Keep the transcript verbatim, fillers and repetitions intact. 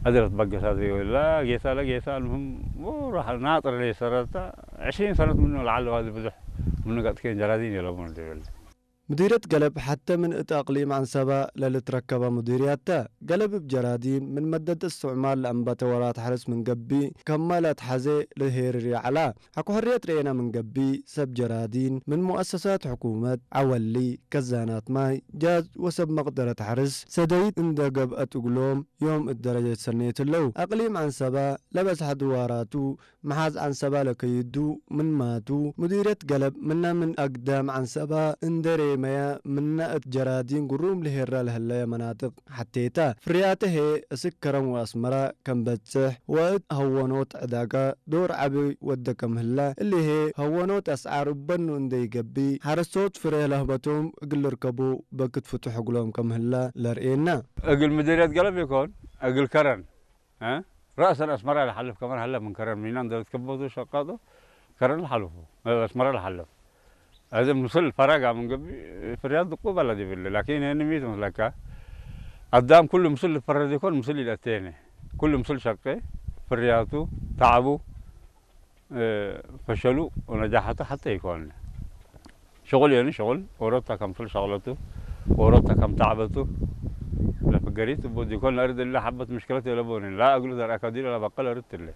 አድረት በገሳት ወላ ጌሳ ለጌሳ፣ አልሙህም ወራህ ናጥር ለይሰረታ፣ ዕሽሪን ሰነት ምኑ ለዐለ ዋዲ ብዙሕ ምኑ ቀጥኬን ጀራዲን የለቡን ዲብል። ሙዲርየት ገለብ ሐቴ ምን እት አቅሊም ዐንሰበ ለልትረከበ ሙዲርያት ተ። ገለብ እብ ጀራዲን ምን መደት እስትዕማል ለአንበተ ወራት ሐርስ ምን ገብእ፣ ከመ ለአትሐዜ ለሄርር ይዐላ። ሐቆ ሕርየት ረኤነ ምን ገብእ፣ ሰብ ጀራዲን ምን ሙአሰሳት ሕኩመት፣ ዐወሊ፣ ከዛናት ማይ፣ ጃዝ ወሰብ መቅደረት ሐርስ ሰደይት እንዴ ገብአት እግሎም ዮም እት ደረጀት ሰኔት ህለው። አቅሊም ዐንሰበ ለበዝሐ ድዋራቱ መሓዝ ዐንሰበ ለከይዱ ምን ማቱ፣ ሙዲርየት ገለብ ምነ ምን አግዳም ዐንሰበ እንዴ ሬመየ፣ ምነ እት ጀራዲን ግሩም ለሄራ ለህለየ መናጥቅ ሐቴተ። ፍርያተ ህዬ እስክ ከረን ወአስመረ ከም በጽሕ ወእት ሀወኖት ዕዳጋ ዶር ዐቢ ወደ ከም ህለ፣ እሊ ህዬ ሀወኖት አስዓር እበኑ እንዴ ኢገብእ፣ ሐረስቶት ፍሬ ለህበቶም እግል ልርከቡ በክት ፍቱሕ እግሎም ከም ህለ ለርኤና። እግል ምዲርየት ገለብ ኢኮን፣ እግል ከረን እ? ረእሰን አስመረ ለሐልፍ ከማን ሀለ ምን ከረን ሚናን ደረት ከበቱ ሸቃጦ ከረን ለሐልፉ፣ እ፣ አስመረ ለሐልፍ። አዜ ምስል ፈረጋ ምን ገብእ ፍርያት ድቁ በለ ዲብለ። ላኪን ህኒ ሚ ትመስለከ? አዳም ኩሉ ምስል ልፈረድ ኢኮን ምስል ኢለአቴነ። ኩሉ ምስል ሸቄ፣ ፍርያቱ፣ ተዐቡ፣ እ፣ ፈሸሉ ወነጃሐቱ ሐቴ ኢኮን። ሽቁል የኒ ሽቁል፣ ኦሮታ ከምስል ሸቅለቱ፣ ኦሮታ ከም ተዕበቱ፣ ለፍገሪት እቡ ዲኮን ለአርድ እለ ሐበት ምሽክለት የለቦኒ። ላ እግሉ ዘርአከ ዲለ ለበቅል አርድ ትለ።